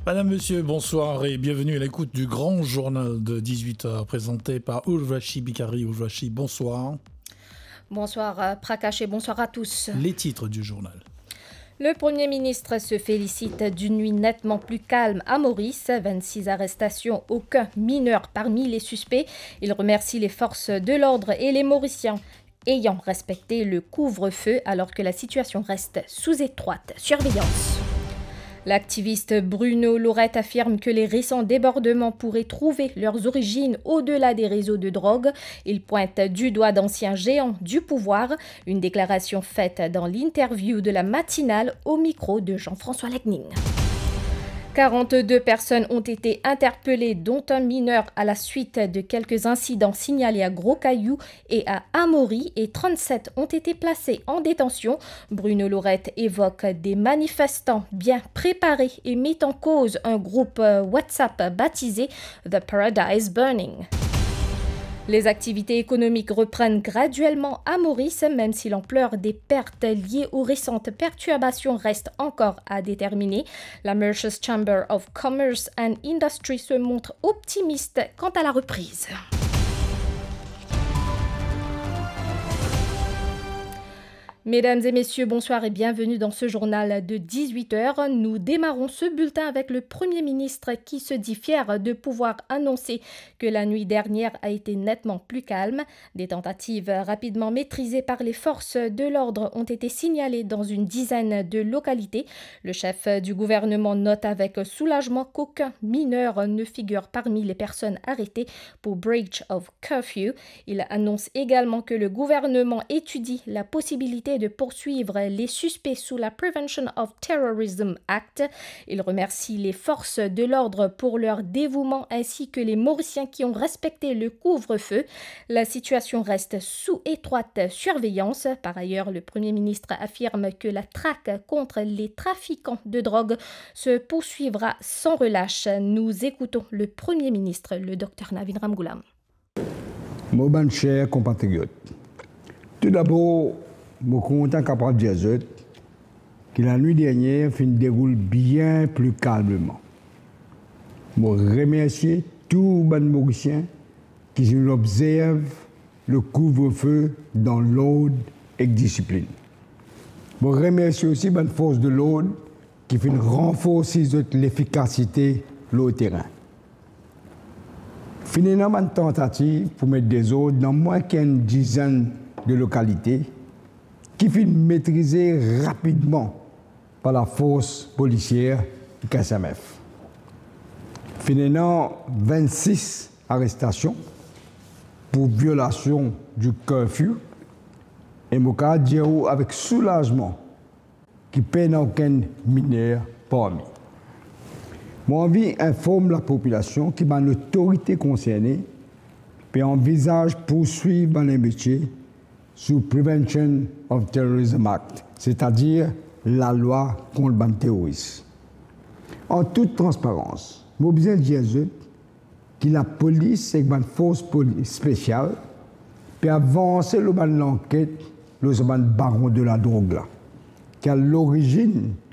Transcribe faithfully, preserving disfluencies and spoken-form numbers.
Madame, Monsieur, bonsoir et bienvenue à l'écoute du grand journal de dix-huit heures présenté par Urvashi Bikari. Urvashi, bonsoir. Bonsoir, euh, Prakash, et bonsoir à tous. Les titres du journal. Le Premier ministre se félicite d'une nuit nettement plus calme à Maurice. Vingt-six arrestations, aucun mineur parmi les suspects. Il remercie les forces de l'ordre et les Mauriciens ayant respecté le couvre-feu alors que la situation reste sous étroite surveillance. L'activiste Bruno Laurette affirme que les récents débordements pourraient trouver leurs origines au-delà des réseaux de drogue. Il pointe du doigt d'anciens géants du pouvoir. Une déclaration faite dans l'interview de la matinale au micro de Jean-François Legning. Quarante-deux personnes ont été interpellées, dont un mineur, à la suite de quelques incidents signalés à Gros-Caillou et à Amaury, et trente-sept ont été placées en détention. Bruno Laurette évoque des manifestants bien préparés et met en cause un groupe, euh, WhatsApp baptisé The Paradise Burning. Les activités économiques reprennent graduellement à Maurice, même si l'ampleur des pertes liées aux récentes perturbations reste encore à déterminer. La Mauritius Chamber of Commerce and Industry se montre optimiste quant à la reprise. Mesdames et messieurs, bonsoir et bienvenue dans ce journal de dix-huit heures. Nous démarrons ce bulletin avec le Premier ministre qui se dit fier de pouvoir annoncer que la nuit dernière a été nettement plus calme. Des tentatives rapidement maîtrisées par les forces de l'ordre ont été signalées dans une dizaine de localités. Le chef du gouvernement note avec soulagement qu'aucun mineur ne figure parmi les personnes arrêtées pour breach of curfew. Il annonce également que le gouvernement étudie la possibilité de poursuivre les suspects sous la Prevention of Terrorism Act. Il remercie les forces de l'ordre pour leur dévouement ainsi que les Mauriciens qui ont respecté le couvre-feu. La situation reste sous étroite surveillance. Par ailleurs, le Premier ministre affirme que la traque contre les trafiquants de drogue se poursuivra sans relâche. Nous écoutons le Premier ministre, le docteur Navin Ramgoolam. Mo bann ser konpatriot, toudabor, mo kontan kapav dir zot ki lanwit dernier finn deroul bien pli kalmeman. Mo remersie tou bann Morisien ki finn obzerv le couvre-feu dan lord ek disiplinn. Mo remersie osi bann fors de lord ki finn ranforsi zot lefikasite lor terin. Finn ena bann tantativ pou met dezord dan mwin ki enn dizenn de lokalite ki finn metrize rapidman par lafors polisier ek S M F. Finn ena vennsis arestasion pou violasion di curfew, e mo kapav dir ou avek soulazman ki pena okenn miner parmi. Mo anvi inform lapopilasion ki bann lotorite konserne pe anvizaz pourswiv bann lemisie sou Prevention of Terrorism Act, setadir lalwa kont bann teroris. An tout transparans, mo bizin dir zot ki lapolis ek bann fors polis spesial pe avanse lor bann lanket lor sa bann baron de ladrog la, ki a lorizinn